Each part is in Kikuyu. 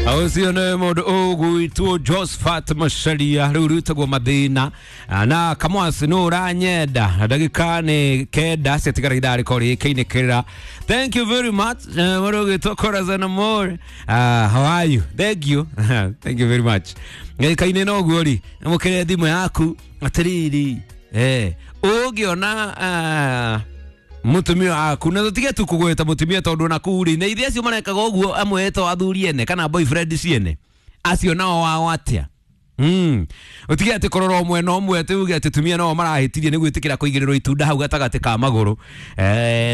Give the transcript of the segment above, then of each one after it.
Ũcio nĩ mũndũ ũgwĩtwo Josephat Macharia rĩu rwĩtagwo Mathĩna na Kamwasi nũ ũranyenda na ndagĩka nĩ kenda ciatigara ithaa rĩkorwo rĩkĩinĩkĩrĩra. Thank you very much, mũndũ ũgwĩtwo Corazon Amore. How are you? Thank you, thank you very much. Gĩka-inĩ no guo rĩ, mũkĩre thimũ yaku atĩrĩrĩ, ũngĩona mutumia waku na tutige tu kugweta mutumia tondu na kuu ri na ithe acio marekaga uguo amwe to athuri ene kana boyfriend ciene acio nao wao atia. Utige ati korora umwe no umwe ati uge ati tumia nao marahitirie ni gwitikira kuigirirwo itunda hau gatagati ka maguru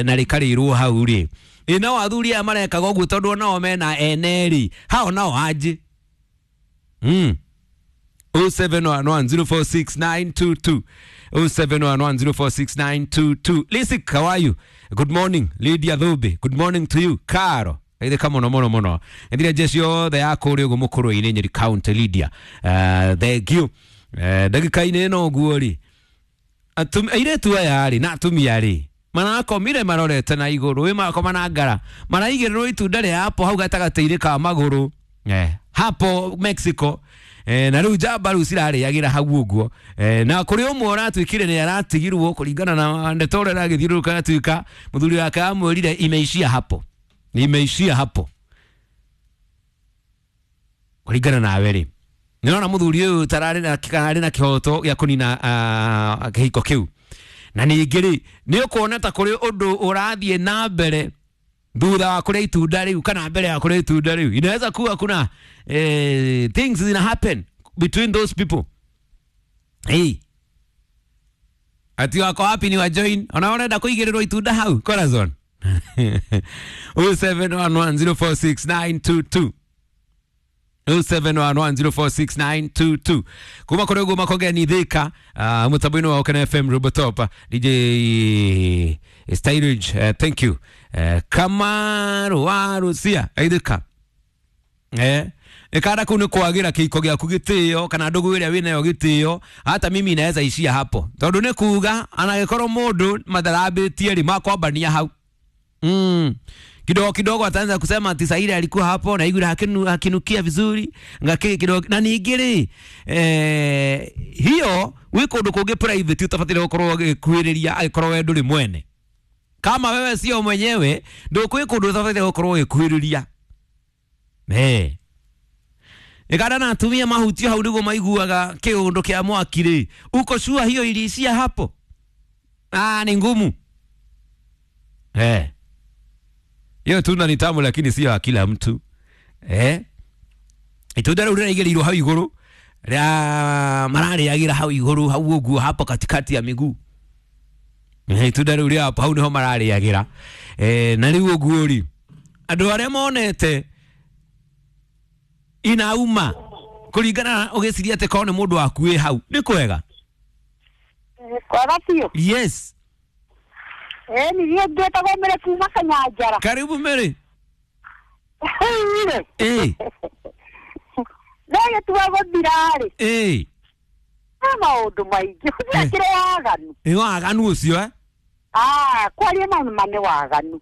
na rikarirwo hau ri nao athuri aya marekaga uguo tondu nao mena ene ri hao nao aje. 0711046922 0711046922. Lisik, how are you? Good morning, Lydia Thube. Good morning to you. Caro. Ile kama no mono mono. Ndire jeshi yothe ya kuri uguo mukuru-inĩ Nyeri County Lydia. Thank you. Ndagĩka-inĩ ĩno ũguo rĩ. Airĩtu aya rĩ na atumia rĩ marakomire marorete na igũrũ ĩ marakoma na ngara maraigĩrĩrwo itunda rĩa apple hau gatagatĩ-inĩ ka magũrũ hapo Mexico. Na rĩu njamba rĩu cirarĩagĩra hau ũguo na kũrĩ ũmwe ũratuĩkire nĩ aratigirwo kũringana na ndeto ũrĩa ĩragĩthiũrũrũka atuĩka mũthuri wake amwĩrire imeishia hapo, imeishia hapo kũringana nawe rĩ nĩũrona mũthuri ũyũ tararĩ na kararĩ na kĩhoto gĩa kũnina kĩhiko kĩu na ningĩ rĩ nĩ ũkuona ta kũrĩ ũndũ ũrathiĩ na mbere thutha wa kũrĩa itunda rĩu kana mbere ya kũrĩa itunda rĩu. Inaweza kuwa kuna things zina happen between those people. Hey, ati wako wapi ni wa join ona ũrenda kũigĩrĩrwo itunda hau Corazon. 0711046922 0711046922 kuma kũrĩ ũguo makongeni Thika mũtambo-inĩ wa Okene FM Robotop DJ Stylage, thank you. Kamaru wa Rusia aithika ikara kuu nĩ kwagĩra kĩiko gĩaku gĩtĩo kana ndũgũ ĩrĩa wĩnayo gĩtĩo hata mimi inaweza ishia hapo tondũ nĩ kuga anagĩkorwo mũndũ matharambĩtie rĩ makwambania hau. Kidogo kidogo ataanza kusema ati Saida alikuwa hapo na igura hakinukia vizuri ngake kidogo na ningĩ hiyo wi kundu kungi private utabatire gukorwo gwikuhiriria agikorwo we nduri mwene kama wewe sio mwenyewe ndukwi kundu utabatire gukorwo gwikuhiriria ikada na atumia mahutio hau niguo maiguaga kiundu kia mwaki ri uko sure hiyo iliishia hapo. Ni ngumu. Hiyo tunda ni tamu lakini sio kila mtu. Itunda rĩu rĩraigĩrĩirwo hau igũrũ rĩa mararĩagĩra hau igũrũ hau ũguo hapo katikati ya miguu. Itunda rĩu rĩa hapo hau niho mararĩagĩra. Na rĩu ũguo rĩ andũ arĩa monete inauma kũringana ũgĩciria atĩ korwo nĩ mũndũ waku wĩ hau nĩ kwega. Kwega biũ. Yes. Ni niĩ ngĩtagwo Mary kuma Kanyanjara. Karibu Mary. No gĩtua gũthira rĩ. Nĩ maũndũ maingĩ gũtiakĩrĩ waganu. Nĩ waganu ũcio? Kwaria maũndũ ma nĩ waganu.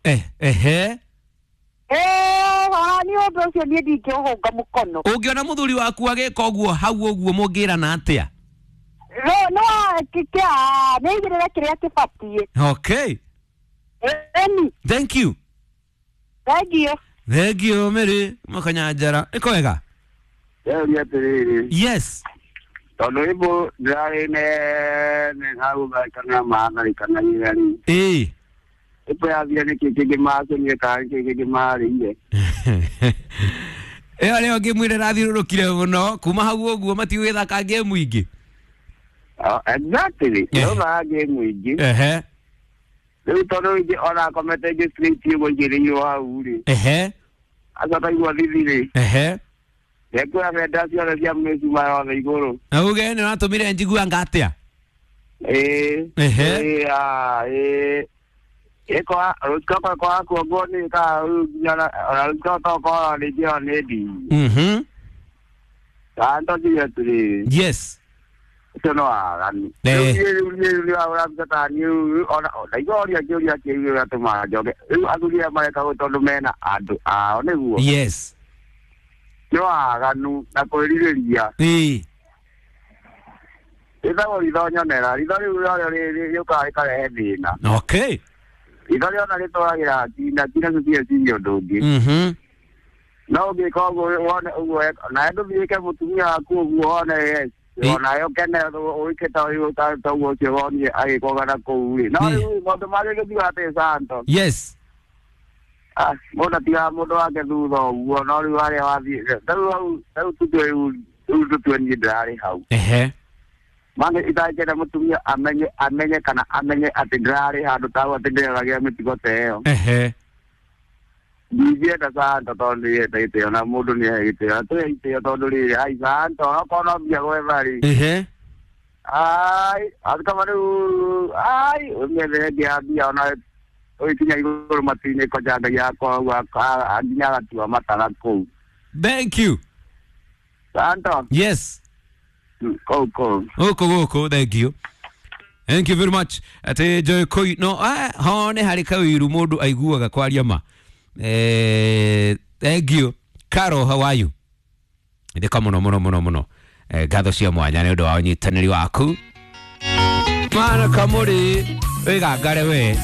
Nĩ ũndũ ũcio niĩ ndingĩũhũnga mũkono. Ũngĩona mũthuri waku agĩka ũguo hau ũguo mũngĩrana atĩa? No nĩ igĩrĩre kĩrĩa kĩbatiĩ. Okay. Eni. Thank you. Thank you. Thank you Mary Makanyanjara. Nĩ kwega? Rĩu atĩrĩrĩ. Yes. Tondũ ibu ndĩrarĩ ne hau kana matharĩkanagĩra rĩ. Ibu yathire nĩkĩ kĩngĩ macenire kana nĩkĩ kĩngĩ marĩire. Ĩyo nĩyo ngĩmwĩra ĩrathiũrũrũkire mũno kuma hau ũguo matigũgĩthaka ngemu ingĩ. Exactly. Ĩyo ngemu ingĩ. Rĩu tondũ ingĩ ona akomete ingĩ straight ũguo igĩrĩirwo hau rĩ. Acoka igua thithi rĩ. Ndekuoya bendera ciothe cia mĩcuma yothe igũrũ. Na uge nĩ ũratũmire njigua ngatia? Ĩkoa rũcikoka kwaga kuongwo nĩ ka nginya ona rũcikoka tokorwo rĩngĩ ĩyo nĩ ndii. Kana tondũ atĩrĩrĩ. Yes. Ũcio no waganu. Rĩu niĩ ũraruta ta niĩ ona ndaigua ũria kĩũria kĩu gĩgatũma njoke. Rĩu athuri aya mareka ũguo tondũ mena andũ ao nĩguo. Yes. Nĩ Nĩ waganu na kwĩrirĩria. Rĩtagwo ritho nyonera. Ritho rĩu narĩo rĩũkaga rĩkarehe thĩna. Ritho rĩona rĩtwaragĩra nginya nginya tũtieciria ũndũ ũngĩ. No ũngĩka ũguo wone ũguo nawe ndũthiĩke mũtumia waku ũguo wone yes. Onawe ũkene ũike ta ũyũ ta ũguo ũcio wonire agĩkoga na kũu rĩ. No rĩu maũndũ marĩa gĩthiaga atĩ Santo. Yes. Ah, mũndũ atigaga mũndũ wake thutha ũguo no rĩu harĩa wathiĩ rĩu hau rĩu tũtue rĩu tũtue niĩ ndĩrarĩ hau. Mane itangĩenda mũtumia amenye kana amenye atĩ ndĩrarĩ handũ ta hau atĩ ndĩreragia mĩtugo ta ĩyo. Ndingĩenda Santo tondũ nĩenda gĩtĩo na mũndũ nĩahe gĩtĩo na tũhe itĩo tondũ rĩrĩ ai Santo okorwo no mbia gwetha rĩ. Ai atikama rĩu ai ũmĩethere ĩngĩ ya mbia ona ũgĩkinya igũrũ matu-inĩ koja Ngai yakwa ũguo nginya agatua matara kũu. Thank you. Santo. Yes. Kũu kũu. Gũkũ gũkũ, thank you. Thank you very much. Atĩ Joy Koi no hone harĩ kawiru mũndũ aiguaga kwaria ma. Thank you. Caro, how are you? Ndĩka mũno mũno mũno mũno. Ngatho cia mwanya nĩ ũndũ wa ũnyitanĩri waku. Mana kamũrĩ wĩgangare we.